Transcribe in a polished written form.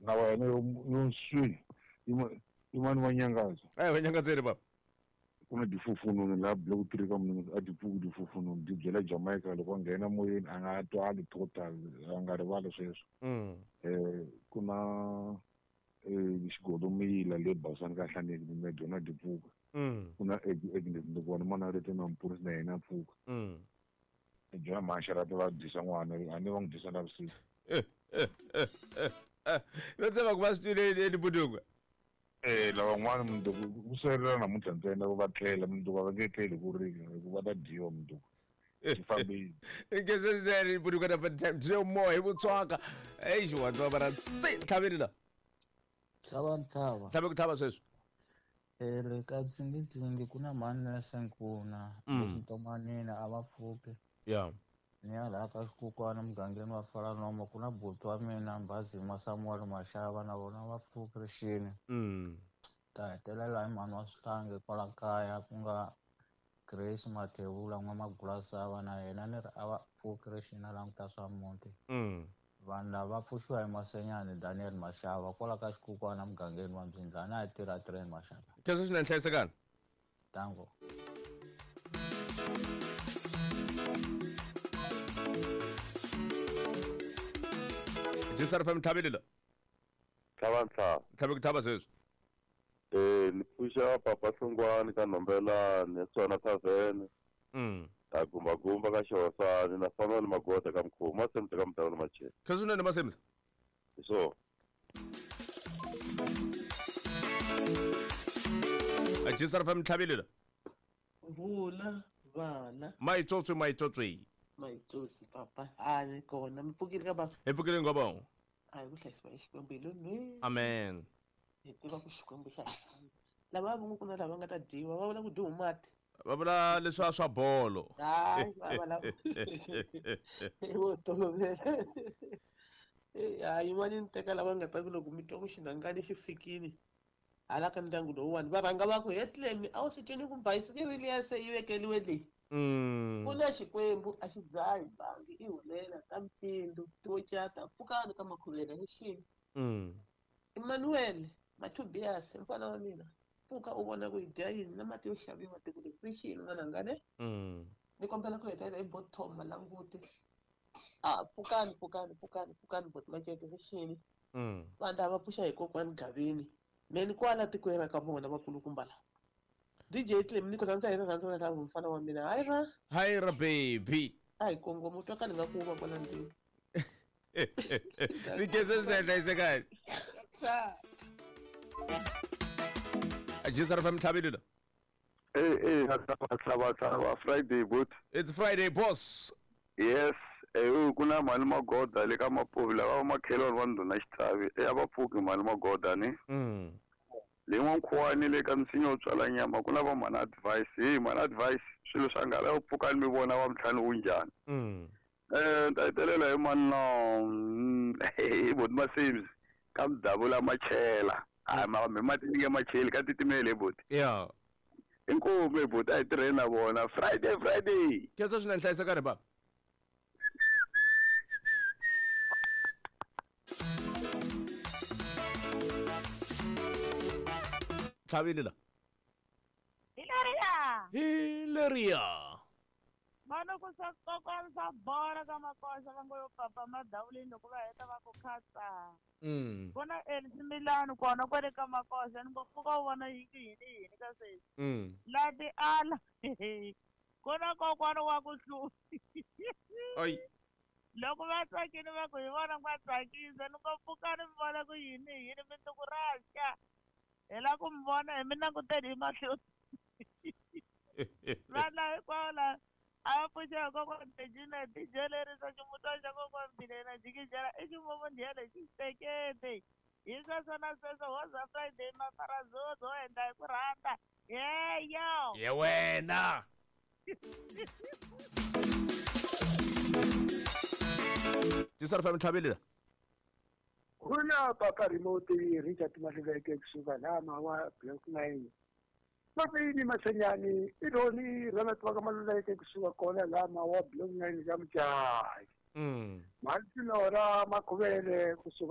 Na wena yo swi yin'wana wa nyangaza. Eh wa nyangaza baba. Kuna difufununu la block 3 ka munhu a dipfuki difufununu di byela Jamaica loko a nghena moyeni a nga twali total a nga rivali sweswo. Kuna xigodomila le Basani ka Hlaneki ni dyona dipfuka. Kuna Agnes Ndukwana mana ri na mpurisi na yena pfuka. Dyona maxarata va dyisa n'wana a ni va n'wi dyisa na vusiku. Va tsema ku va swi twile eLibudungwe. Lavan'wana mundzuku ku salela namuntlha ntsena va tlela mundzuku va nge tleli ku ri hikuva va ta dyiwa mundzuku. Swi fambile. Nkhensa swinene Libudungwe na time dye moya hi vutswaka. Eish wa tswa bara tsi tlhaveni la. Tlhava ntlhava. Tlhave ku tlhava sweswi. Le ka tsingitsingi ku na mhani na Senkuna lexintomanini a va pfuki. Yeah. Ni ya laha ka xikukwana mugangeni wa Falanoma ku na buti wa mina Mbhazima Samuel Mashava na vona va pfuki rixini. Ta hetelela hi mhani wa Swihlangi kwala kaya ku nga Grace Mathebula n'wamagulasava na yena ni ri a va pfuki rixini a languta swa muti. Vanhu lava va pfuxiwa hi Masenyani Daniel Mashava kwala ka xikukwana mugangeni wa Mbyindlana a hi tirha train Mashava. Khensa swinene hlayisekani. Tango. Jisar FM tlhavile la. Tlhava ntlhava. Tlhave ku tlhava sweswi. Ni pfuxa papa Hlongwane ka Nhombelani, Tswana Tavern. Ta gumba gumba ka Xihosani na Samuel Magoda ka Mkhumu, Masemisa ka Mudawula Machela. Khensa swinene Masemisa. So. Jisar FM tlhavile la. Vula vana. Maitsotsi maitsotsi. Maitsotsi papa. A kona mi pfukile ka baba. Hi pfukile ngopfu. A hi ku hlayisiwa hi Xikwembu hi lo nwe. Amen. Hi tiva ku Xikwembu xa hi. Lava va ngo ku na lava nga ta dyiwa va vula ku dyiwa mati. Va vula leswa swa bolo. Hayi va va lava. Vo tolovela. Hayi yin'wana ni teka lava nga ta ku loko mi twa ku xinhangani xi fikile. Hala ka ndyangu lowuwani va rhanga va ku hetlemi a wu swi twini ku bayisikiri liya se yi vekeliwe leyi. Ku na Xikwembu a xi dzahi bangi i hulela ka mpfindu tiwocata pfukani ka makhuvela ni xini. Emmanuel Mathubias mfana wa mina pfuka u vona ku hi dya yini na mati yo xaviwa tiko leri ri xini n'wananga ne. Ni kombela ku hetelela hi bottom malanguti. A pfukani pfukani pfukani pfukani bot maceke ri xini. Vanhu lava pfuxa hi kokwani Gavini. Meni kwala tikweni ra ka vona vakulukumba lava. DJ Clem ni ku rhandza hi rirhandzu ra mfana wa mina. Hayi ra. Hayi ra baby. A hi kongoma u twa ka ni nga ku va kwala ndlwini. Ni khensa swinene hlayisekani. Jisar FM tlhavile la. Tlhava tlhava Friday boot. It's Friday boss. Yes. Ku na mhani Magoda le ka Mapuvi lava va makhelwani va ndhuna Xithavi a va pfuki mhani Magoda ni. Le n'wankhuwani le ka misinya wo tswala nyama ku na va mhani Advice. Hey mhani Advice swilo swa nghala yo pfukani mi vona wa mtlhanu wu njhani. Ni ta hetelela hi mani no hi boti Masems ka Mdavula Machela. Hayi mi mati ni nge macheli ka titimele hi boti. Yeah. Inkomu hi boti a hi tirheni na vona Friday Friday. Khensa swinene hlayisekani baba. Tlhavile la. Hilariya. Hilariya. Mano ku sa kokwana swa bora ka makoxa va ngo yo papa madawuleni loko va heta va ku khatsa. Vona Elsie kona kwale ka makoxa ni ngo pfuka u vona yini yini yini ka sweswi. La ti ala. Kona kokwana wa ku hluvi. Ai. Loko va tsakile va ku hi vona va tsakisa ni ngo pfuka ni vona ku yini yini mundzuku ra xa. Hi la ku mi vona hi mi languteni hi mahlo. Vana hinkwavo la a va pfuxa hi kokwana Regina tijelerisa ximutwana xa kokwana Bilena jikijela i ximumu ndiya lexi xi tekete. Hi sweswo na sweswo hoza Friday mafarazozo ho endla hi ku rhandza. Yeyo. Ye wena. Jisar FM tlhavile la. Kuna papa remote Richard Maluleke kusuka lama wa Block 9. Mapini Masenyani ironi Ronald wa Maluleke kusuka kona lama wa Block 9 ka Mjayi. Maltinora Makhuvele kusuka